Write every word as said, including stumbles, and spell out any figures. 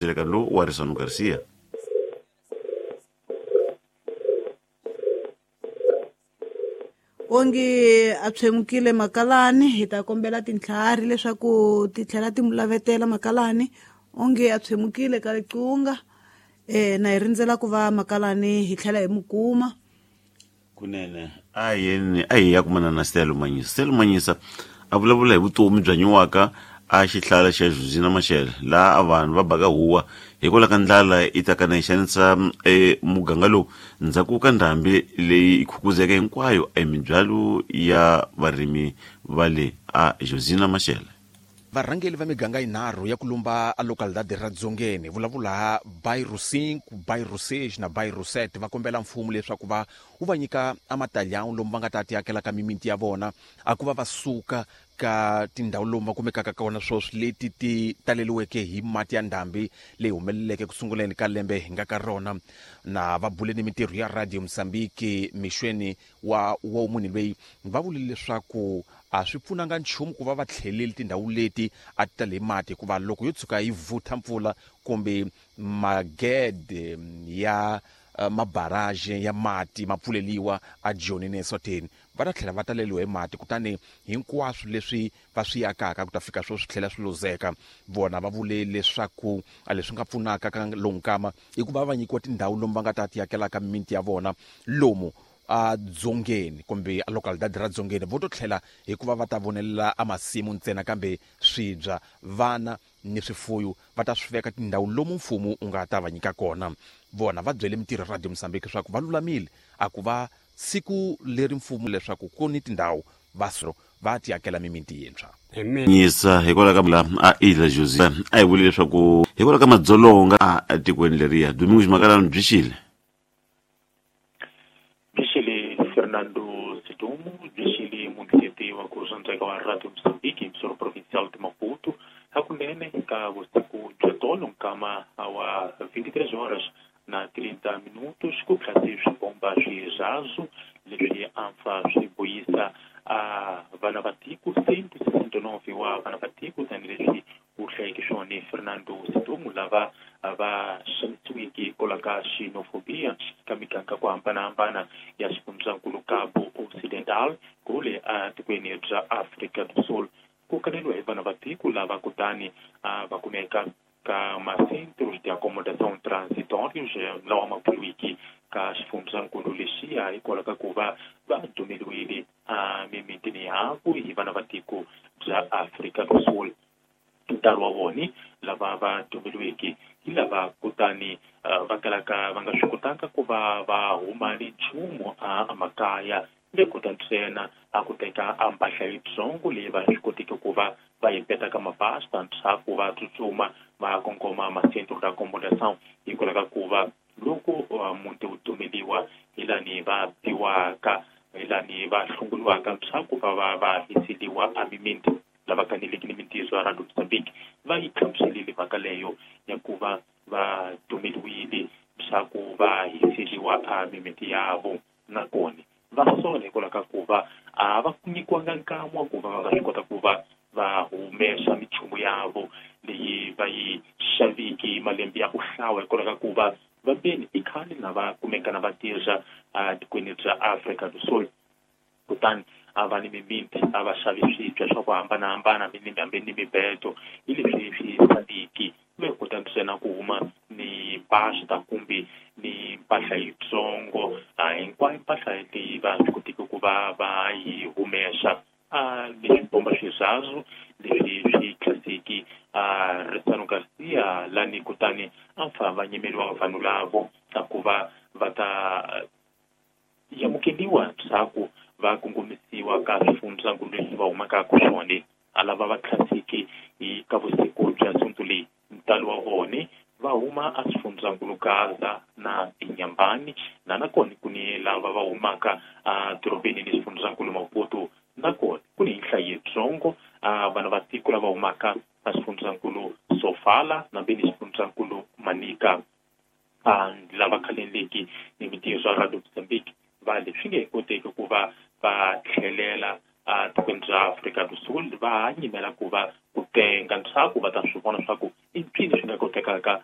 Lo wa Risano Garcia. Onge a tshwemukile makalani hi ta kombela tintlhari leswaku ti tlhela ti mulavetela makalani onge a tshwemukile ka licunga eh na hi rindzela ku va makalani hi tlhela hi mukuma kunene a yeni a hi ya kumana na Stella Manyisa. Stella Manyisa a vulavula hi vutomi bya nyiwaka a xihlala xa Josina Machel laha vanhu va baka huwa hikwalaho ka ndlala yi ta kana yi xanisa e muganga lowu ndzhaku ka ndhambi leyi khukuzeke hinkwayo emibyalo ya varimi va le a Josina Machel. Varhangeli va miganga yinharhu ya ku lumba a localidade ra Dzongeni vulavula bairro cinco, bairro seis na bairro sete va kombela mfumo leswaku va wu va nyika a matalhão lomu va nga ta tiakela ka mimiti ya vona a ku va va suka ka tindhawu lomu va kumekaka kona sweswi leti ti taleliweke hi mati ya ndhambi leyi humeleleke ku sunguleni ka lembe hi nga ka rona. Na va bule ni mintirho ya Radio Mozambique mixweni wa wa munhu loyi va vule leswaku a swi pfunanga nchumu ku va va tlheleli tindhawu leti a ti tale mati hikuva loko yo tshuka yi vutha mpfula kumbe magede ya mabarrage ya mati ma pfuleliwa a Joni ne Eswatini va ta tlhela va taleliwa hi mati kutani hinkwaswo leswi va swi akaka ku ta fika swo swi tlhela swi luzeka. Vona va vule leswaku a leswi nga pfunaka ka lonkama i ku va va nyikiwa tindhawu lomu va nga ta ti akelaka mimiti ya vona lomu a Dzongeni kumbe a localidade ra Dzongeni vo to tlhela hikuva va ta vonelela a masimu ntsena kambe swibya vana ni swifuyo va ta swi veka tindhawu lomu mfumo u nga ta va nyika kona. Vona va byele mintirho ya Radio Mozambique leswaku va lulamile a ku va siku leri mfumo leswaku ku ni tindhawu va va ti akela mimiti yintshwa. Nyisa hikwalaho ka la a Ilha José a hi vule leswaku hikwalaho ka madzolonga a tikweni leriya Domingos Makalani byi xile Fernando Sidumo, byi munhu wa ku swandzeka wa Radio Mozambique emissora provincial de Maputo hakunene ka vusiku bya tolo nkama wa vinte e três horas na trinta minutos ku tlhase swibomba swirhazu leswi ampfa swi boyisa a vana va tiko cento e sessenta e nove wa vana va tiko tanihileswi ku hlayeke swona Fernando Sidumo lava va xanisiweke hikwalaho ka xenofobia ka miganga ku hambanahambana ya xifundzankulu Cabo Ocidental kule etikweni bya Afrika do Sul ku kaneliwa hi vana va tiko lava kutani va kumeka ka macentros de acomodação transitórios lawa ma pfuriwiki ka xifundzankulu lexiya hikwalaho ka ku va va dumeliwile emimitini yaku hi vana va tiko bya Afrika do Sul. Ntalo wa vona lava va dumeliweke hi lava kutani va kalaka va nga swi kotanga ku va va huma ni nchumu emakaya le kota ntsena a ku teka a mpahla yitsongo leyi va swi koteke ku va va yi peta ka mabasta ndzhaku va tsutsuma va kongoma macentro de acomodação hikwalaho ka ku va loko muti wu dumeliwa hi lani va biwaka hi lani va hlongoliwaka ndzhaku va va va hiseliwa emimiti. Lava kaneleke ni mintiyiso ya Radio Mozambique va yi hlamuselile mhaka leyo ya ku va va dumeliwile leswaku va hiseliwa emimiti yavo nakona va sola hikwalaho ka ku va a va nyikiwanga nkama wa ku va va nga swi kota ku va va humesa minchumu yavo leyi va yi xaviki malembe ya ku hlawa hikwalaho ka ku va va veni i khale na va kumeka na va tirha etikweni bya Afrika do Sul kutani a va ni mimiti a va xavi swibya swa ku hambanahambana hambi ni mibedo hi leswi swi saliki ve kota ntsena ku huma ni basta kumbe ni mpahla yitsongo hinkwayo mpahla leyi va swi kotiki ku va va yi humesa a leswi bomba swirhazu leswi swi tlhaseki a Risano Garcia lani kutani a fa va nyimeriwa vanhu lavo a ku va va ta amukeliwa ndzhaku va kongomisiwa ka swifundzankulu leswi va humaka ka swona a lava va tlhaseki hi ka vusiku bya sonto leyi ntalo wa vona va huma a swifundzankulu Gaza na Inhambane na nakona ku ni lava va humaka a dorobeni ni swifundzankulu Maputo nakona ku ni nhlayo yitsongo a vana va tiko lava humaka a swifundzankulu Sofala na ni swifundzankulu Manica a lava khaleleki ni mintiyiso ya Radio Mozambique va leswi nge koteki ku va va tlhelela a tikweni ra Afrika do Sul va nyimela ku va ku tenga ntshaku va ta swi vona swa ku i mpfini swi nga kotekaka